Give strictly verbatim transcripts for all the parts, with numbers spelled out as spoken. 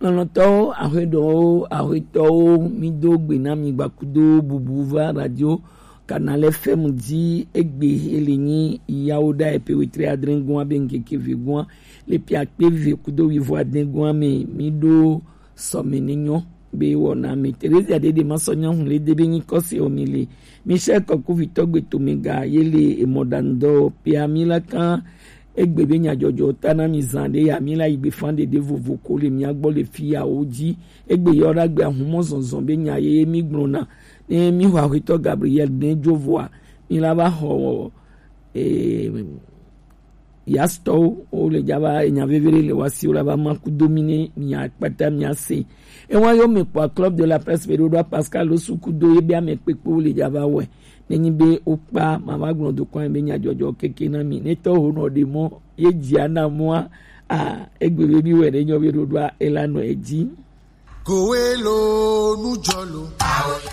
Lɔlɔ̃tɔwo, ahweɖowo, ahwetɔwo, mi do gbe na mi gbakudo bubu va radio Canal F M ji egbe ele nyi yawo da epe wetri adre gua be ngeke ve gua le pia kpe ve kudo wivo adre gua me mi do sɔme ne nyɔ be wɔna me. Teresa Dede ma sɔ nya hun le de be nyi kɔse o mi le. Michel Kɔkuvitɔ gbe to me ga ye le emɔ dan dɔ pia mi la kan egbe be nyadzɔdzɔ ta na mi zan de ya mi la yi gbe fan de de vovo ko le mia gbɔ le fi ya wo ji. Egbe yɔ da gbe ahumɔ zɔnzɔn be nya ye mi gblɔ na. Ne mi xɔ ahwetɔ Gabriel ne jo voa, mi la va xɔ, eh, yastɔwo, wo le dza va enya veve ɖe le wa si wo la va ma kudo mi ne mia kpata mia se. Ewa yo me kpɔ Club de la Presse be ɖo ɖo Pascal Osu kudo ye be ame kpekpe wo le dza va wɛ. Ne nyi be wo kpa ma va gblɔ do kwan be nya dzɔdzɔ keke na mi. Ne tɔ ho nɔ ɖe mɔ ye dzia na mɔa, a, egbe be mi wɛ ne nyɔ be ɖo ɖoa ela nɔ edzi. Kowe lo nu dzɔ lo.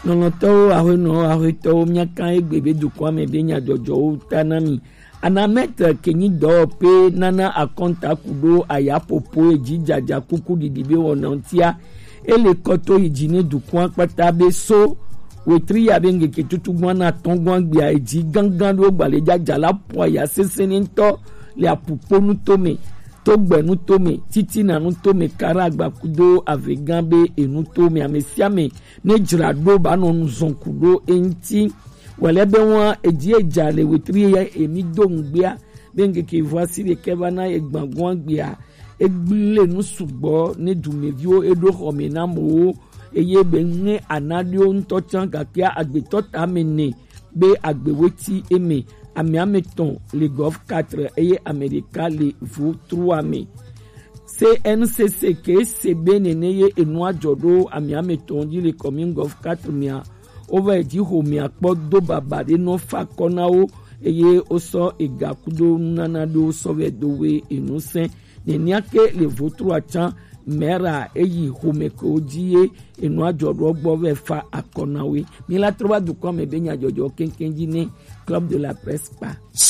Lɔlɔ̃tɔwo, ahwenɔwo, ahwetɔwo, míaka egbe be dukɔa me be nyadzɔdzɔwo ta na mi. Anamɛt ke nyi dɔwɔƒe nana akɔnta kuɖo ayaƒoƒo edzi dzadza kuku ɖiɖi be wɔna ŋutia. Ele kɔto yi dzi ne dukɔa kpata be so wetri ya be ŋkeke tutugbua na atɔ̃ gbɔa gbea edzi gãgã ɖewo gbalẽ dzadza la ƒoa ya sesẽ ne ŋutɔ le aƒukpo nuto me. Togbenu tome, Titina nu tome, Karagba kudo Avegã be enu tome, ame sia ame ne dzra ɖo ba nɔ nu zɔn ku ɖo eŋuti. Wòle be ŋua edzi edza le wetri ye emi do ŋugbea be ŋkeke vo asi ɖekɛ va na egbãgɔa gbea egblẽ nu sugbɔ ne dumeviwo eɖo xɔme na amewo eye be ne anaɖiwo ŋutɔ tsã gakea agbetɔ tame nɛ be agbewoe ti eme, ame ame tɔn le golf quatre eye ame ɖeka le vo trois me. C N C C ke se be nene ye enua dzɔ ɖo ame ame tɔn dzi le commune golf quatre mea, wova yi dzi xomea kpɔ do baba ɖe nɔ fa kɔ na wo eye wosɔ ega kudo nunana ɖewo sɔ vɛ do we enu sɛn. Nenea ke le vo trois tsã, mera eyi xome ke wo dzi ye enua dzɔ ɖo gbɔ vɛ fa akɔ na we. Mi la trɔ va dukɔ me be nyadzɔdzɔ keŋkeŋ dzi ne Club de la Presse kpa.